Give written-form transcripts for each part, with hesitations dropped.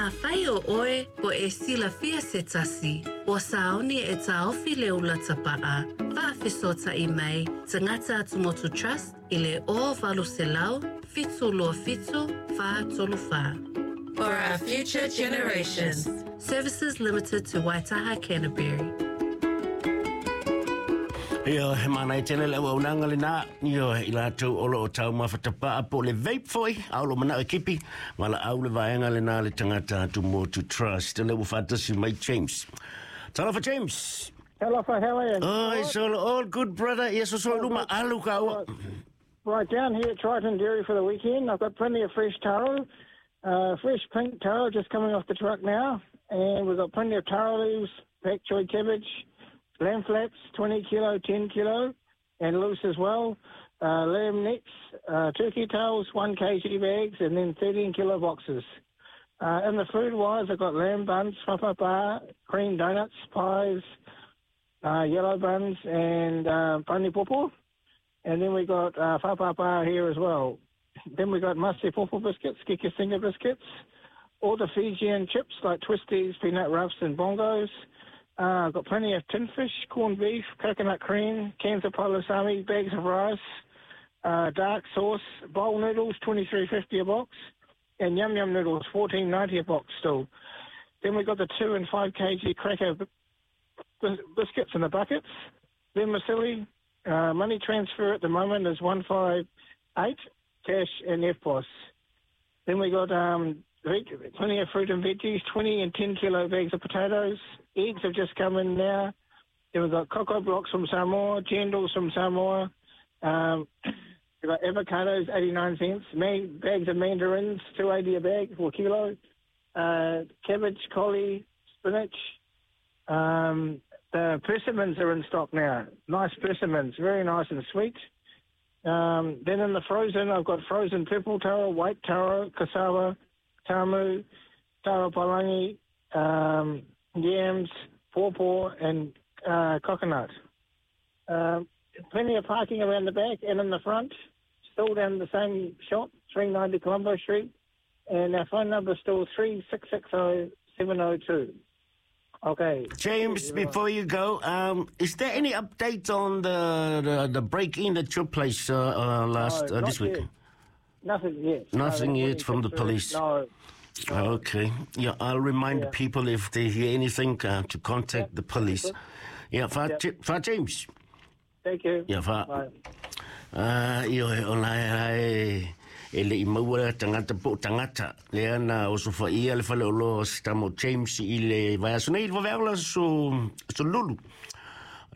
Afai o oe po e silafia se tasi, ua sauni e taofi le ula tapa'a, faafesootai mai Tagata Atumotu Trust i le 0800 727 434. For our future generations. Services limited to Waitaha Canterbury. Ia, he mānaia tele le auaunaga lenā, ioe, i latou o lo o taumafa tapa'a po o le vape foi, a o lo o mana'o e kipi, valaau le vaega lenā le Tagata Atumotu Trust. Lea ua faatasi mai James. Talofa James! Talofa, how are you? Oh, it's all good, brother. Ia soso i luma, alu kāua. Right, down here at Triton Dairy for the weekend. I've got plenty of fresh taro, fresh pink taro just coming off the truck now. And we've got plenty of taro leaves, pak choi cabbage, lamb flaps, 20 kilo, 10 kilo, and loose as well. Lamb necks, turkey tails, 1 kg bags, and then 13 kilo boxes. In the food wise, I've got lamb buns, fa'apapa, cream donuts, pies, yellow buns, and pani popo. And then we got fa'apapa here as well. Then we got masi popo biscuits, kiki singa biscuits, all the Fijian chips like twisties, peanut roughs, and bongos. Got plenty of tin fish, corned beef, coconut cream, cans of palusami, bags of rice, dark sauce, bowl noodles, $23.50 a box, and yum yum noodles, $14.90 a box still. Then we got the 2 and 5 kg cracker biscuits in the buckets. Then Masili, money transfer at the moment is 158, cash and EFTPOS. Then we got plenty of fruit and veggies, 20 and 10 kilo bags of potatoes. Eggs have just come in now. Then we've got cocoa blocks from Samoa, jandals from Samoa. We've got avocados, 89 cents. Bags of mandarins, $2.80 a bag, 4 kilo. Cabbage, collie, spinach. The persimmons are in stock now. Nice persimmons, very nice and sweet. Then in the frozen, I've got frozen purple taro, white taro, cassava, tamu, taro palangi, yams, pawpaw, and coconut. Plenty of parking around the back and in the front. Still down the same shop, 390 Colombo Street. And our phone number is still 3660 702. Okay. James, before you go, is there any update on the break-in at your place last No, this not week? yet. Nothing yet. Nothing No, yet from the police. No. Okay. Yeah, I'll remind people if they hear anything to contact the police. Yeah, fa, fa James. Thank you. Yeah, fa. Bye. Ioe, o la e e le i maua tagata po o tagata. Lea na osofaia le faleoloa o si tama o James i le vaiaso nei, le vaveao la so lulu.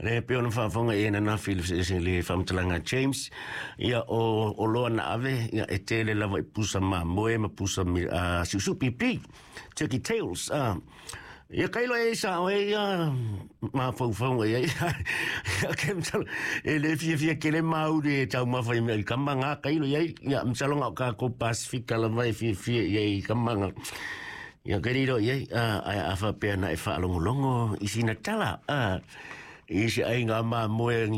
Le pe ona faafofoga i ananafi le faamatalaga a James, ia o oloa na ave, ia e tele lava i pusa mamoe ma pusa siusiu pipi, turkey tails. Ia kailo e sa o e ia mafaufauga i ai. Ia ke masalo e le fiafia tele mauri e taumafa i mea i ka maga kailo i ai. Ia masalo ga o kākou Pasifika lava e fiafia i ai i ka maga. Ia ke riro i ai, ae a faapea na e faalogologo i sina tala, i se aiga mamoe.